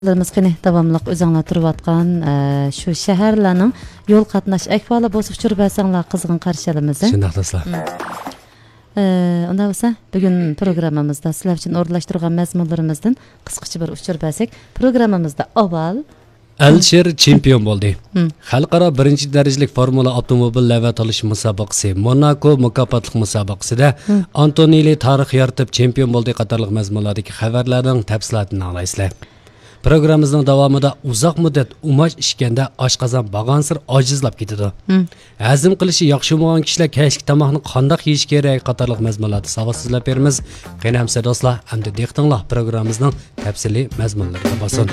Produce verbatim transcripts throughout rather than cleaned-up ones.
ئاڭلىغۇچىلىرىمىز، قېنى، داۋاملىق ئۆزۈڭلار تۇرۇۋاتقان، ئە، شۇ شەھەرلەرنىڭ يول قاتناش ئەھۋالى بولسا ئۇچۇر بەرسەڭلار، قىزغىن قارشى ئالىمىز. شۇنداق، دوستلار. مم. ئە، ئۇنداق بولسا، بۈگۈن پروگراممىمىزدا سىلەر ئۈچۈن ئورۇنلاشتۇرغان مەزمۇنلىرىمىزدىن قىسقىچە بىر ئۇچۇر بەرسەك، پروگراممىمىزدا ئاۋۋال ئەلىشىر چېمپىيون بولدى. مم. خەلقئارا بىرىنچى دەرىجىلىك فورمۇلا ئاپتوموبىل لەۋھە تالىشىش مۇسابىقىسى، موناكو مۇكاپاتلىق مۇسابىقىسىدە مم. ئانتونېللى تارىخ يارىتىپ چېمپىيون بولدى قاتارلىق مەزمۇنلاردىكى خەۋەرلەرنىڭ تەپسىلاتىنى ئاڭلايسىلەر. پروگراممىمىزنىڭ داۋامىدا ئۇزاق مۇددەت ئۇماچ ئىچكەندە ئاشقازان بارغانسېرى ئاجىزلاپ كېتىدۇ. مم. ھەزىم قىلىشى ياخشى بولمىغان كىشىلەر كەچلىك تاماقنى قانداق يېيىش كېرەك قاتارلىق مەزمۇنلاردا ساۋات سۆزلەپ بېرىمىز. قېنى ئەمىسە دوستلار، ئەمدى دىققىتىڭلار پروگراممىمىزنىڭ تەپسىلىي مەزمۇنلىرىدا بولسۇن.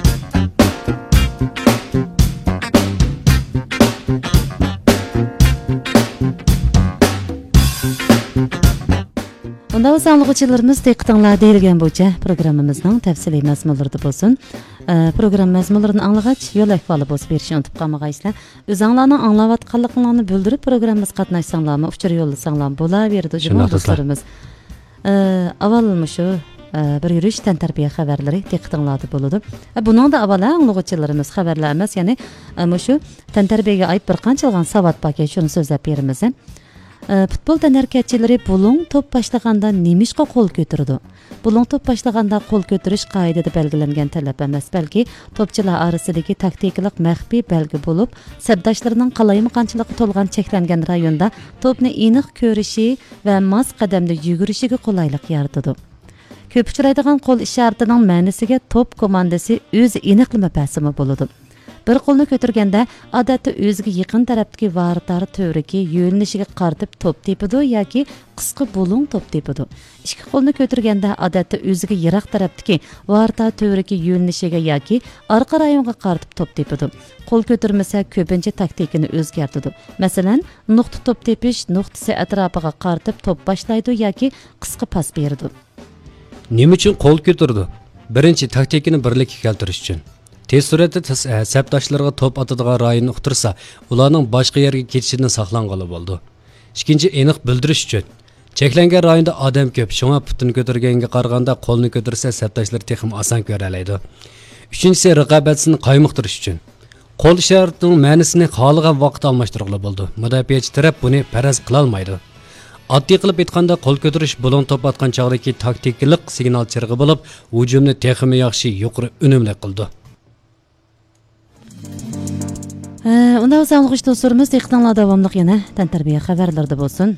ئۇنداق بولسا ئاڭلىغۇچىلىرىمىز، دىققىتىڭلار دېيىلگەن بويىچە پروگراممىمىزنىڭ تەپسىلىي مەزمۇنلىرىدا بولسۇن. ئە، پروگرامما مەزمۇنلىرىنى ئاڭلىغاچ، يول ئەھۋالى بولسا بېرىشنى ئۇنتۇپ قالمىغايسىلەر. ئۆزۈڭلارنىڭ ئاڭلاۋاتقانلىقىڭلارنى بىلدۈرۈپ، پروگراممىمىزغا قاتناشساڭلارمۇ، ئۇچۇر يوللىساڭلارمۇ بولاۋېرىدۇ جۇمۇ شۇنداق، دوستلار. دوستلىرىمىز. ئە، ئاۋۋال مۇشۇ، ئە، بىر يۈرۈش تەنتەربىيە خەۋەرلىرى دىققىتىڭلاردا بولىدۇ. ئە، بۇنىڭدا ئاۋۋال ئاڭلىغۇچىلىرىمىز خەۋەرلەر ئەمەس، يەنى، ئە، مۇشۇ تەنتەربىيەگە ئائىت بىر قانچىلىغان ساۋات باركەن، شۇنى سۆزلەپ بېرىمىز. ئە، پۇتبول تەنھەرىكەتچىلىرى بۇلۇڭ توپ باشلىغاندا نېمىشقا قول كۆتۈرىدۇ؟ بۇلۇڭ توپ باشلىغاندا قول كۆتۈرۈش قائىدىدە بەلگىلەنگەن تەلەپ ئەمەس، بەلكى توپچىلار ئارىسىدىكى تاكتىكىلىق مەخپىي بەلگە بولۇپ، سەپداشلىرىنىڭ قالايمىقانچىلىقى تولغان چەكلەنگەن رايوندا توپنى ئېنىق كۆرۈشى ۋە ماس قەدەمدە يۈگۈرۈشىگە قولايلىق يارىتىدۇ. كۆپ ئۇچرايدىغان قول ئىشارىتىنىڭ مەنىسىگە توپ كوماندىسى ئۆزى ئېنىقلىما بەرسىمۇ بولىدۇ. بىر قولنى كۆتۈرگەندە، ئادەتتە ئۆزىگە يېقىن تەرەپتىكى ۋارىتار تۈۋرۈكى يۆنىلىشىگە قارىتىپ توپ تېپىدۇ ياكى قىسقا بۇلۇڭ توپ تېپىدۇ. ئىككى قولنى كۆتۈرگەندە، ئادەتتە ئۆزىگە يىراق تەرەپتىكى ۋارىتار تۈۋرۈكى يۆنىلىشىگە ياكى ئارقا رايونغا قارىتىپ توپ تېپىدۇ. قول كۆتۈرمىسە، كۆپىنچە تاكتىكىنى ئۆزگەرتىدۇ. مەسىلەن، نۇقتا توپ تېپىش نۇقتىسى ئەتراپىغا قارىتىپ توپ باشلايدۇ ياكى قىسقا پاس بېرىدۇ. نېمە ئۈچۈن قول كۆتۈرىدۇ؟ بىرىنچى، تاكتىكىنى بىرلىككە كەلتۈرۈش ئۈچۈن. تېز سۈرئەتتە تەس-، ئە، سەپداشلىرىغا توپ ئاتىدىغان رايوننى ئۇقتۇرسا، ئۇلارنىڭ باشقا يەرگە كېتىشىدىن ساقلانغىلى بولىدۇ. ئىككىنچى، ئېنىق بىلدۈرۈش ئۈچۈن. چەكلەنگەن رايوندا ئادەم كۆپ، شۇڭا پۇتىنى كۆتۈرگەنگە قارىغاندا قولنى كۆتۈرسە سەپداشلىرى تېخىمۇ ئاسان كۆرەلەيدۇ. ئۈچىنچىسى، رىقابەتچىسىنى قايمۇقتۇرۇش ئۈچۈن. قول ئىشارىتىنىڭ مەنىسىنى خالىغان ۋاقىتتا ئالماشتۇرغىلى بولىدۇ. مۇداپىئەچى تەرەپ بۇنى پەرەز قىلالمايدۇ. ئاددىي قىلىپ ئېيتقاندا، قول كۆتۈرۈش بۇلۇڭ توپ ئاتقان چاغدىكى تاكتىكىلىق سىگنال چىرىغى بولۇپ، ھۇجۇمنى تېخىمۇ ياخشى، يۇقىرى ئۈنۈملۈك قىلىدۇ. ھە، ئۇنداق بولسا ئاڭلىغۇچى دوستلىرىمىز، دىققىتىڭلار داۋاملىق يەنە تەنتەربىيە خەۋەرلىرىدە بولسۇن.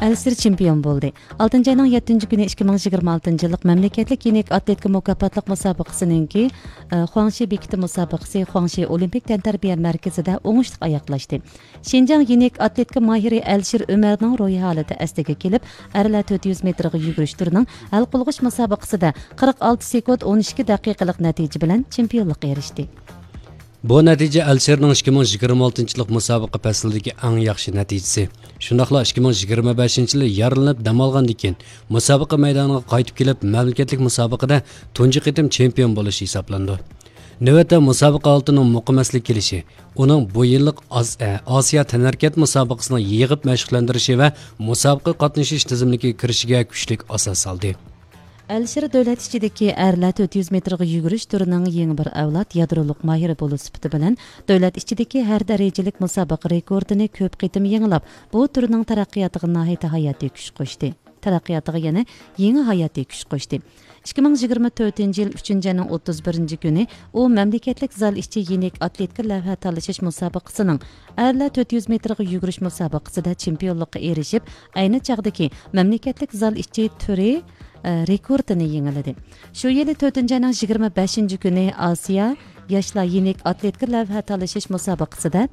ئەلىشىر چېمپىيون بولدى. ئالتىنچى ئاينىڭ يەتتىنچى كۈنى ئىككى مىڭ يىگىرمە ئالتىنچى يىللىق مەملىكەتلىك يېنىك ئاتلېتىكا مۇكاپاتلىق مۇسابىقىسىنىڭكى، ئە، خۇاڭشى بېكىتى مۇسابىقىسى خۇاڭشى ئولىمپىك تەنتەربىيە مەركىزىدە ئوڭۇشلۇق ئاياغلاشتى. شىنجاڭ يېنىك ئاتلېتىكا ماھىرى ئەلىشىر ئۆمەرنىڭ روھىي ھالىتى ئەسلىگە كېلىپ، ئەرلەر تۆت يۈز مېتىرغا يۈگۈرۈش تۈرىنىڭ ھەل قىلغۇچ مۇسابىقىسىدە قىرىق ئالتە سېكۇنت ئون ئىككى دەقىقىلىق نەتىجە بىلەن چېمپىيونلۇققا ئېرىشتى. بۇ نەتىجە ئەلىشىرنىڭ ئىككى مىڭ يىگىرمە ئالتىنچى يىللىق مۇسابىقە پەسلىدىكى ئەڭ ياخشى نەتىجىسى. شۇنداقلا ئىككى مىڭ يىگىرمە بەشىنچى يىلى يارىلىنىپ دەم ئالغاندىن كېيىن، مۇسابىقە مەيدانىغا قايتىپ كېلىپ، مەملىكەتلىك مۇسابىقىدە تۇنجى قېتىم چېمپىيون بولۇش ھېسابلىنىدۇ. نۆۋەتتە مۇسابىقە ھالىتىنىڭ مۇقىم ئەسلىگە كېلىشى، ئۇنىڭ بۇ يىللىق ئاز-، ئە، ئاسىيا تەنھەرىكەت مۇسابىقىسىنىڭ يىغىپ مەشىقلەندۈرۈشى ۋە مۇسابىقە قاتنىشىش تىزىملىكىگە كىرىشىگە كۈچلۈك ئاساس سالدى. ئەلىشىر دۆلەت ئىچىدىكى ئەرلەر تۆت يۈز مېتىرغا يۈگۈرۈش تۈرىنىڭ يېڭى بىر ئەۋلاد يادرولۇق ماھىرى بولۇش سۈپىتى بىلەن، دۆلەت ئىچىدىكى ھەر دەرىجىلىك مۇسابىقە رېكورتىنى كۆپ قېتىم يېڭىلاپ، بۇ تۈرنىڭ تەرەققىياتىغا ناھايىتى ھاياتىي كۈچ قوشتى. تەرەققىياتىغا يەنە يېڭى ھاياتىي كۈچ قوشتى. ئىككى مىڭ يىگىرمە تۆتىنچى يىل ئۈچىنچى ئاينىڭ ئوتتۇز بىرىنچى كۈنى ئۇ مەملىكەتلىك زال ئىچى يېنىك ئاتلېتىكا لەۋھە تالىشىش مۇسابىقىسىنىڭ ئەرلەر تۆت يۈز مېتىرغا يۈگۈرۈش مۇسابىقىسىدە چېمپىيونلۇققا ئېرىشىپ، ئەينى چاغدىكى مەملىكەتلىك زال ئىچى تۈرى، ئە، رېكورتىنى يېڭىلىدى. شۇ يىلى تۆتىنچى ئاينىڭ يىگىرمە بەشىنچى كۈنى ئاسىيا ياشلار يېنىك ئاتلېتىكا لەۋھە تالىشىش مۇسابىقىسىدە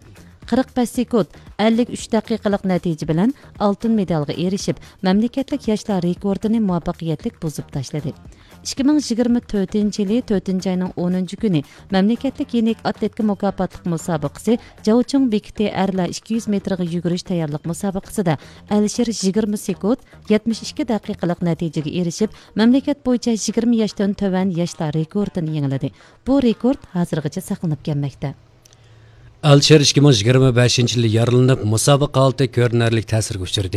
قىرىق بەش سېكۇنت ئەللىك ئۈچ دەقىقىلىق نەتىجە بىلەن ئالتۇن مېدالغا ئېرىشىپ، مەملىكەتلىك ياشلار رېكورتىنى مۇۋەپپەقىيەتلىك بۇزۇپ تاشلىدى. ئىككى مىڭ يىگىرمە تۆتىنچى يىلى تۆتىنچى ئاينىڭ ئونىنچى كۈنى مەملىكەتلىك يېنىك ئاتلېتىكا مۇكاپاتلىق مۇسابىقىسى جاۋچۇڭ بېكىتى ئەرلەر ئىككى يۈز مېتىرغا يۈگۈرۈش تەييارلىق مۇسابىقىسىدە ئەلىشىر يىگىرمە سېكۇنت، يەتمىش ئىككى دەقىقىلىق نەتىجىگە ئېرىشىپ، مەملىكەت بويىچە يىگىرمە ياشتىن تۆۋەن ياشلار رېكورتىنى يېڭىلىدى. بۇ رېكورت ھازىرغىچە ساقلىنىپ كەلمەكتە. ئەلىشىر ئىككى مىڭ يىگىرمە بەشىنچى يىلى يارىلىنىپ، مۇسابىقە ھالىتى كۆرۈنەرلىك تەسىرگە ئۇچرىدى.